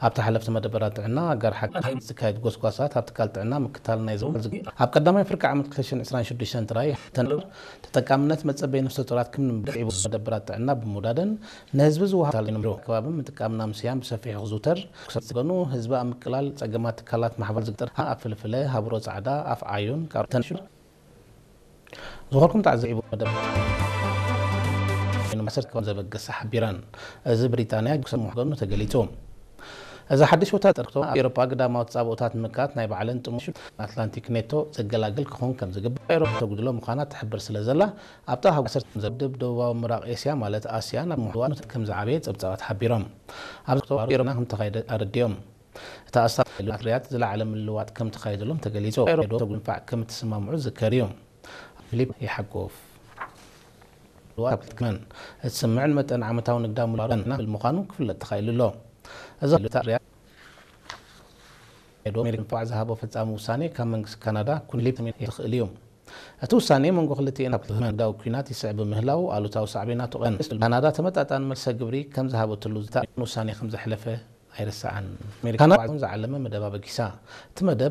ኣብቲ ሓለፍቲ መደበራት ጥዕና ኣጋር ሓኪም ዝካየድ ጎስጓሳት ኣብ ትካል ጥዕና ምክታል ናይ ዘወል ዝግ ኣብ ቀዳማይ ፍርቂ ዓመት ክልተ ሽሕን ዕስራን ሽዱሽተን ጥራይ ተንብር ተጠቃምነት መጸበይ ነፍሰ ጡራት ክም ንምድር ዒቡ መደበራት ጥዕና ብምውዳደን ንህዝቢ ዝወሃብ ታል ንምድሮ ከባቢ ምጥቃም ናምስያን ብሰፊሑ ክዝውተር ክሰጥ ዝገኑ ህዝቢ ኣብ ምቅላል ጸገማት ትካላት ማሕበር ዝግጥር ኣብ ፍልፍለ ሃብሮ ጻዕዳ ኣፍ ዓዩን ካብ ተንሽር ዝኾርኩም ተዓዘ ዒቡ መደብ መሰረት ከም ዘበገሰ ሓቢረን። እዚ ብሪጣንያ ክሰሙ ገኑ ተገሊጹ። እዚ ሓድሽ ወታደር ክቶ ኣብ ኤሮፓ ግዳማዊ ተጻብኦታት ንምካት ናይ ባዕለን ጥሙሽ ኣትላንቲክ ኔቶ ዘገላግል ክኾን ከም ዝግባእ ኤሮፓ ተጉድሎ ምዃና ትሕብር ስለ ዘላ ኣብታ ሃገር ዘድብ ደቡባዊ ምራቕ ኤስያ ማለት ኣስያ ናብ ምሕዋር ከም ዝዓበየ ጸብጻባት ሓቢሮም። ኣብዚ ክተባሩ ኤሮና ከም ተኻይደ ኣረዲኦም። እታ ኣስታት ኣትርያት ዝለዓለ ምልዋጥ ከም ተኻይደሎም ተገሊጹ። ኤሮፓ ተጉድሎ ምፋዕ ከም ትሰማምዑ ዝከር እዩ። ፊሊፕ ይሓጎፍ። ልዋብ ክትክመን እትስምዕን መጠን ዓመታዊ ንግዳ ሙላረን ናብል ምዃኑ ክፍለጥ ተኻኢሉ ኣሎ። እዚ ልታ ሪያ ዶ ኣሜሪካ ንፋዕ ዝሃቦ ፈጻሚ ውሳኔ ካብ መንግስቲ ካናዳ ኩንሊፕ ተሜን ይኽእል እዩ። እቲ ውሳኔ መንጎ ክልቲኤን ኣብ ትህመን ንግዳዊ ኲናት ይስዕብ ምህላው ኣሉታዊ ሳዕቤናቱ ቀን ካናዳ ተመጣጣኒ መልሰ ግብሪ ከም ዝሃበትሉ ዝተኣን ውሳኔ ከም ዘሕለፈ ኣይረሳዕን። ኣሜሪካ ካናዳ ዝዓለመ መደብ ኣበጊሳ። እቲ መደብ